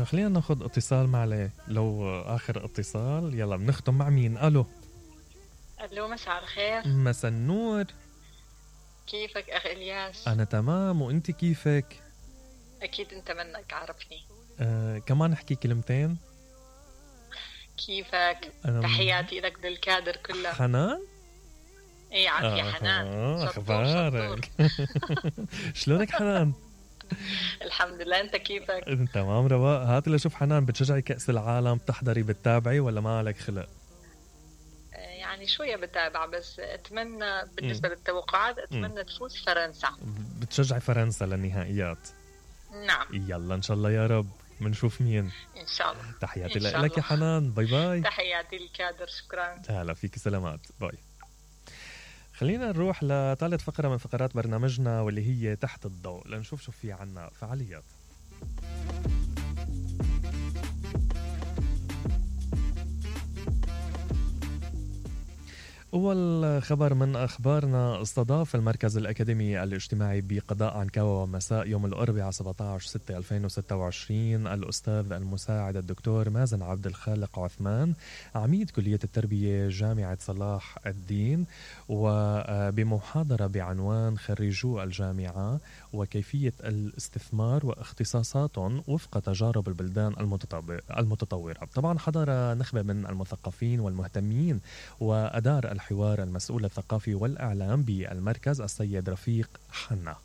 خلينا ناخد اتصال مع لو آخر اتصال. يلا بنختم مع مين؟ ألو. الو، مساء الخير. مساء النور. كيفك اخ الياس؟ أنا تمام، وأنت كيفك؟ اكيد انت منك عارفني. كمان احكي كلمتين. كيفك؟ تحياتي لك للكادر كلها. حنان؟ ايه عافية حنان. اخبارك؟ شلونك حنان؟ الحمد لله، انت كيفك؟ تمام رواق. هاتي لشوف حنان، بتشجعي كأس العالم؟ بتحضري بتتابعي ولا ما عليك خلق؟ يعني شوية بتابع، بس اتمنى بالنسبة للتوقعات اتمنى تفوز فرنسا. بتشجعي فرنسا للنهائيات؟ نعم. يلا ان شاء الله يا رب، منشوف مين ان شاء الله. تحياتي لك يا حنان. باي باي. تحياتي للكادر، شكرا. هلا فيك، سلامات، باي. خلينا نروح لثالث فقرة من فقرات برنامجنا واللي هي تحت الضوء، لنشوف شو في عنا فعاليات. أول خبر من أخبارنا، استضاف المركز الأكاديمي الاجتماعي بقضاء عنكاوة مساء يوم الأربعاء 17/6/2026 الأستاذ المساعد الدكتور مازن عبد الخالق عثمان، عميد كلية التربية جامعة صلاح الدين، وبمحاضرة بعنوان خريجو الجامعة وكيفية الاستثمار واختصاصاتهم وفق تجارب البلدان المتطورة. طبعا حضر نخبة من المثقفين والمهتمين، وأدار الحوار المسؤول الثقافي والإعلام بالمركز السيد رفيق حنا.